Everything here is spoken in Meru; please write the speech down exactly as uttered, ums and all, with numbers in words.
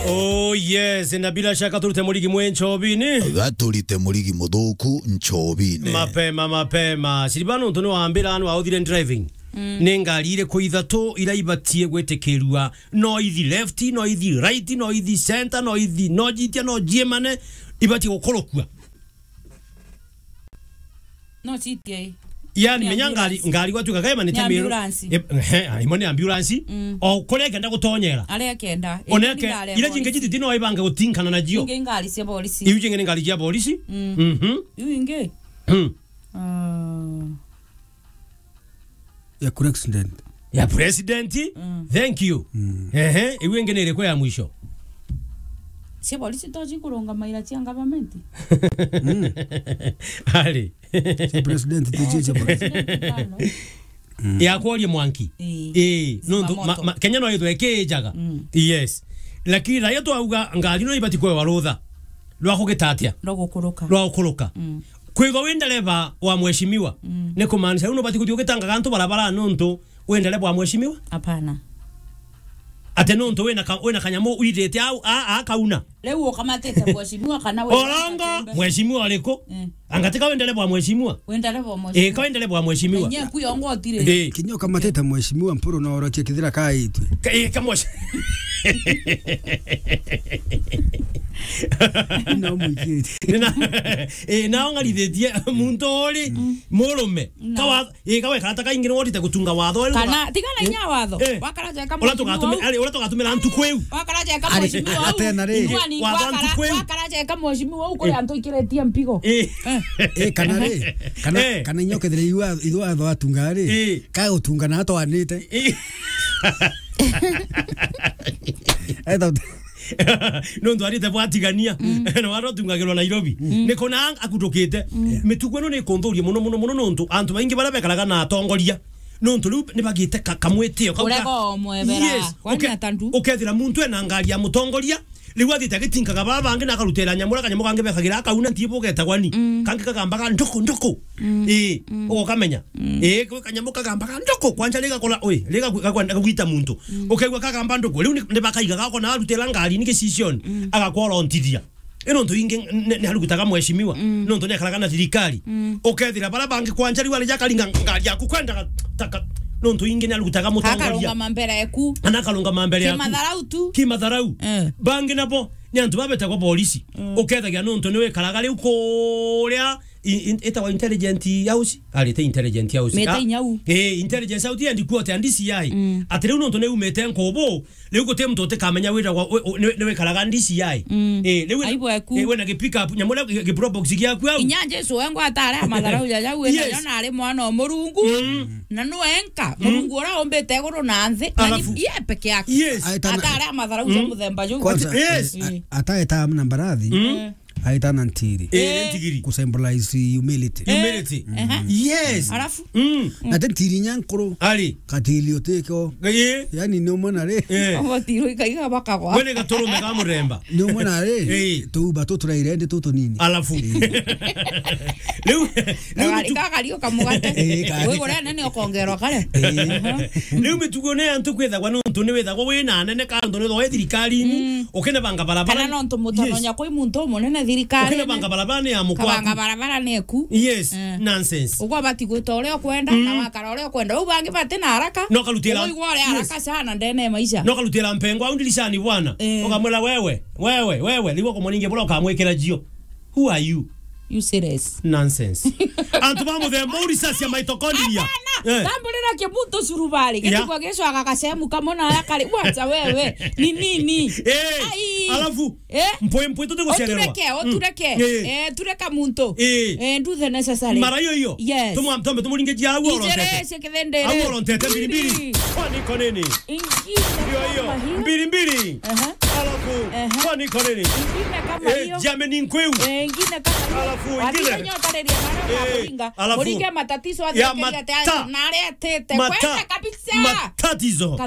Oh yes, na bila shaka turute murigi mwe nchobini. Gaturite murigi muthuku nchobini. Mapema, mapema. Silvano, ntu ni wambira anu authire driving. Mm. Ni ngari iriku ithatu ira ibatie gwitikirua? No ithi left, no ithi right, no ithi center, no ithi, no jitia, no jiemane, ibatie gukurukua. No citia i. Yani, ni menya ngari, ambulance. Ngari gwatuika kaema ni Ni ta miru. Ambulance. E, he, imo ni ambulance. Mm. O kuria kenda gutonyera. Aria kenda. Oneke, ire jingi jititi no ibange gutinkana na jio. Ingi ngari cia polisi. Iu jingi ni ngari cia polisi. Mm. Mhm. Iu ingi? Mm. Ah. Ya president. Ya president. Mm. Thank you. Mm. Ehe, iu ingi ni iriku ya mwisho? Cia polisi to cikurungamaira cia government. Mm. Ari. Cia president, ti cia, cia polisi. President tano. Mm. Ya kuoria mwanki. Ii. Ii, nontu ma-, ma-, Kenya no ithwe kijaga. Mm. Yes. Lakini raia twauga ngari no ibati kwewa rutha rwa kugita atia? Rwa gukuruka. Rwa gukuruka. Mm. Kwithwa wi ndereba wa mheshimiwa, mm, ni kumaanisha riu nubati kuthii ugitangaga antu barabara nontu wi ndereba wa mheshimiwa? Hapana. Ati nontu wina ka-, wina kanyamu withite au, a, a kauna? Riu ukamatite mheshimiwa kana wi Orongo, mheshimiwa uriku? Eh. Anga ti ka wi ndereba wa mheshimiwa? Wi ndereba wa mheshimiwa. Eh, ka wi ndereba wa mheshimiwa. Enye ku yongo otire. Eh. Kinya ukamatite mheshimiwa, Mpuru no orotie kithira kaitwe. Ka-, eh, ka mheshimiwa. No mwikite. Na, eh, na ongarithitie muntu uri, mm, murume. Na. Kawa Ii, ka wekara ta kaingi ni wotite gutunga watho riu. Kana, tigana inya watho. Eh. Wakara jeka mheshimiwa. Uria tugatumira, ari, uria tugatumira ntuku iu. Wakara jeka mheshimiwa au. Atena ri. Watho ntuku iu. Wakara jeka mheshimiwa au kuri antu ikiritie mpigo. Ii. Eh. Ii, kana ri. Kana, eh, kana inya ukethira iu wa-, ithu watho atunga ri. Ii. Ka utunga na atwanite. Ii. Eta nontu arite bwatigania, mm, na wara utungagirwa Nairobi. Mm. Ni kuna akutukite. Mm. Mitugo ino ni kunthuria muno, muno, muno, nontu antu baingi baria bekaraga na atongoria, nontu riu ni bagite ka-, kamwitio kau ka-, urega umwebera. Yes. Kwani uke-, atandu? Ukethira muntu ena ngari ya mutongoria, riu athite agitinkaga baba bangi na akarutira nyamu, kanyamu kangi bekagira akauna ntibu getagwa ni. Mm. Kangi kagambaga nduku, nduku. Mm. Ii, mm, ugokamenya. Mm. Ii, kwi kanyamu kagambaga nduku, kwanja riga kura, ui, riga gwi-, gagwenda kugwita muntu. Mm. Ukaigua kagamba nduku, riu ni, ni bakaiga gako na arutira ngari ni gicicioni, mm, agakworontithia. Ino ntu ingi ni, ni arugutaga mheshimiwa, mm, nontu ni akaraga na thirikari. Mm. Ukethira bara bangi kwanja riu ari jakaringa ngari yaku kwenda taka, nontu ingi ni arugutaga mutongoria. Akarungama mbere eku. Ana akarungama mbere yaku. Kimatharau tu. Kimatharau. Eh. Bangi nabo, ni antu babetagwa polisi. Mm. Ukethagia nontu ni wikaraga riu kuria i-, in-, itagwa intelligent house, ari ti intelligent house. Mete inyau. Eh, intelligence house and court and D C I. Mm. Ati riu nontu ni umite nkubu, riu guti muntu utikamenya wira wa, wi-, wi-, ni, ni wikaraga D C I. Mm. Eh, riu wina, aibu eku, eh, wina gi pick up, nyamu ria gi, gi probox giaku au. Inya Jesu wengwa atare amatharau jaja, wina, yes, yona ari mwana o Murungu. Mm. Na nu enka, mm, Murungu uria umbite iguru na nthi, na ni, alafu, ye peke yake. Yes. Atare amatharau ja, mm, muthemba juu. Kwanza, yes, eh, a-, ataeta na mbarathi. Mm. Eh. Aita na ntiri. Eh, eh, ntigiri. Ku symbolize humility. Eh, humility. Ehe. Yes. Alafu? Mm. Na te ntiri nya nkuru. Ari. Katiri utiko. Eh. Yani ni umwe na ri. Eh. Abo tiro ikaiga bakagwa. Wene gaturume ka muremba. Ni umwe na ri. Eh. Tuuba tu turaire ndi tu tunini. Alafu. Eh. Riu, riu ari tu- kaka rio kamugate. Eh, kari. Wewe gure nene ukongerwa kare. Eh. Aha. Riu mitugo ni antu kwithagwa nontu ni withagwa wina anene ka nontu ni thirikari-ini. Mm. Ukinebanga barabara. Kana nontu mutononya, yes, kwi muntu umunene thirikari. Ukinebanga barabara ni ya mukwaka. Kabanga barabara ni eku. Yes, eh, nonsense. Ugwa bati gwita uria ukwenda, mm, na wakara uria ukwenda. Uu bangi bati na haraka. No karutira. Uigwa uria, yes, haraka sana ndene ya maisha. No karutira mpengo au ndirishani bwana. Eh. Ukamwira, "Wewe, wewe, wewe," niguo kumwona ingi bura ukamwikira jio. Who are you? Useless. Nonsense. Antu ba muthemba uu, risasi ya mitochondria. Hapana. Eh. Tamburira kibuto surubari. Yeah. Gitugwa gicwaga gacemu kamwe na aria kari. Wacha wewe. Ni nini? Eh. Ai. Alafu, eh? Mpwi mpwi tuti gucererwa. Utureke, mm, utureke. Eh. Eh, tureka muntu. Eh. Eh, do the necessary. Mara iyo iyo. Yes. Tumwa-, tumbe tumuringe jia au orotete. Ijere cia kithindiri. Au orotete mbiri mbiri. Mbiri. Kwani iko nini? Ingine. Iyo, iyo. Kama hiyo. Mbiri mbiri. Aha. Alafu, aha, kwani iko nini? Ingine kama, eh, hiyo. Jameni nkweu. Eh, ingine kama hiyo. Alafu, ingine. Wathire nyota rĩrĩa na arĩa, eh, makuringa. Alafu. Mũringe matatizo ya athirikari ata-, mata-, na arĩa etĩte. Mata-, kwenda kabisa. Matatizo. Kadha-